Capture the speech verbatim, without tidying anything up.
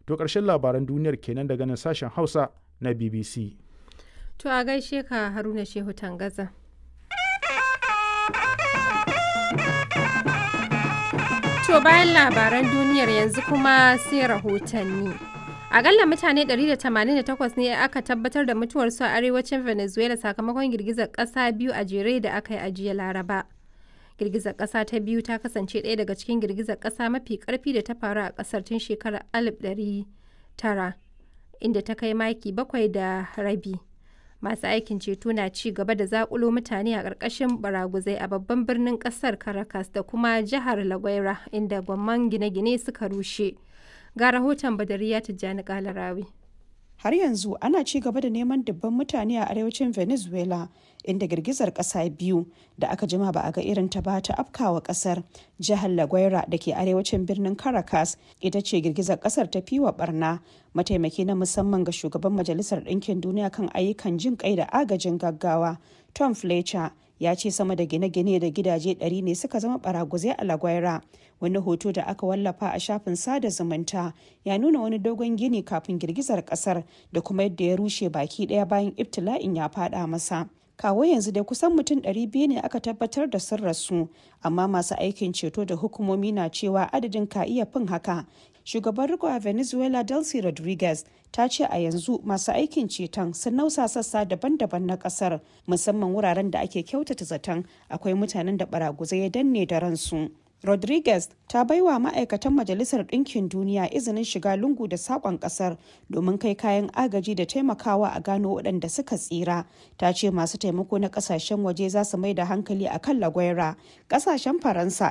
To ƙarshen labaran duniyar kenan daga nan sashen Hausa na B B C. To a gaishe ka, Haruna Shehu Tangaza. To bayan labaran duniyar, yanzu kuma sai rahotanni. Akalla mutane ɗari da tamanin da takwas ne aka tabbatar da mutuwarsu a arewacin Venezuela sakamakon girgizar ƙasa biyu a jere da aka yi a jiya Laraba. Girgizar ƙasa ta biyu ta kasance ɗaya daga cikin girgizar ƙasa mafi ƙarfi da ta faru a ƙasar tun shekarar alif ɗari tara, inda ta kai maki bakwai da rabi. Masu aikin ceto na ci gaba da zakulo mutane a ƙarƙashin baraguzai a babban birnin ƙasar Caracas da kuma jihar La Guaira, inda gwamman gine-gine suka rushe. Ga rahoton Badariya Tijjani Kalarawi. Har yanzu ana ci gaba da neman dubban mutane a arewacin Venezuela, inda girgizar kasa biyu da aka jima ba a ga irin ta ba ta afkawa kasar. Jihar La Guaira da ke arewacin birnin Caracas ita ce girgizar kasar ta fiwa barna. Mataimaki na musamman ga shugaban Majalisar Ɗinkin Duniya kan ayyukan jin kai da agajin gaggawa, Tom Fletcher, ya ce sama da gine-gine da gidaje ɗari ne suka zama baraguzai a La Guaira. Wani hoto da aka wallafa a shafin sada zumunta ya nuna wani dogon gini kafin girgizar kasar da kuma yadda ya rushe baki ɗaya bayan ibtila'in ya fada masa. Kawo yanzu dai kusan mutum ɗari biyu ne aka tabbatar da sun rasu, amma masu aikin ceto da hukumomi na cewa adadin ka iya fin haka. Shugaban riko a Venezuela, Delcy Rodriguez, ta ce a yanzu masu aikin ceton sun nausa sassa daban-daban na kasar, musamman wuraren da ake kyautata zaton akwai mutanen da baraguzai ya danne da ransu. Rodriguez ta baiwa ma'aikatan Majalisar Ɗinkin Duniya izinin shiga lungu da saƙon ƙasar domin kai kayan agaji da taimakawa a gano waɗanda suka tsira. Ta ce masu taimako na ƙasashen waje za su mai da hankali a kan Lagwaira. Ƙasashen Faransa